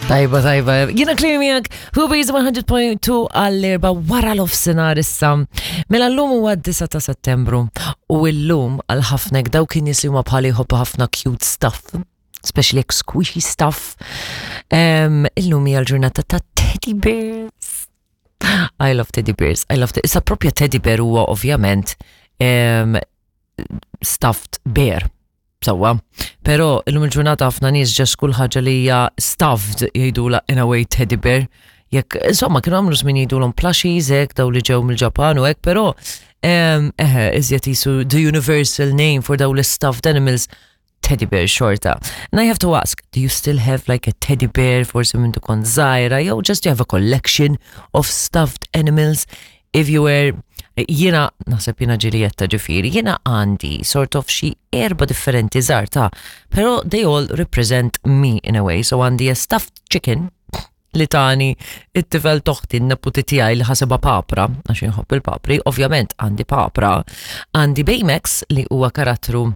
Tajba, tajba. Jiena Claire miegħek, Ruby's 100.2 għall-erba wara l-ofsinar issa. Mela l-lum huwa 9 ta' Settembru u l-lum għal ħafna dawk kien nies li huma bħali jħobbu ħafna cute stuff, especially like squishy stuff. Illum hija l-ġurnata ta' teddy bears. I love teddy bears. I love teddy. Issa propja teddy bear huwa ovvjament stuffed bear. Sewwa. Però illum il-ġurnata ħafna nies ġest kull ħaġa li hija stuffed jgħidula in a way teddy bear. Jekk insomma kienu għamlu żmien jgħidulhom plushies hekk daw li ġew mill-Ġapan u hekk, però eħe iżjed jisu the universal name for daw l-stuffed animals teddy bear xorta. And I have to ask, do you still have like a teddy bear forsi minn tkun żgħira jew just you have a collection of stuffed animals? If you were jiena naħseb jiena ġilijetta ġifieri, jiena għandi sort of xi erba differenti żgħar ta' però they all represent me in a way. So għandi a stuffed chicken li tani it-tifel toħti n-neputi tiegħi li ħasibha papra, għax inħobb il-papri, ovvjament għandi papra, għandi Baymax li huwa karattru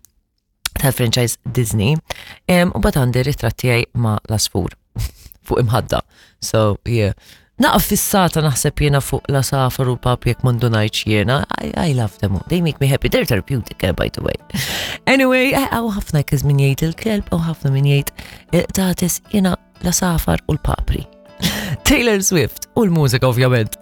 tal-franchise Disney, u bat għandi ritratt tiegħi ma' l-asfur fuq imħadda. So, yeah. Naqaf fissata naħseb jiena fuq la safar u pap jekk mandu ngħidx jiena. I, I love them. They make me happy. They're therapeutic, eh, by the way. Anyway, eh, għaw ħafna kiz min jgħid il-kelb, għaw ħafna min jgħid il-tatis jiena la safar u l-papri. Taylor Swift u l-mużika ovvjament.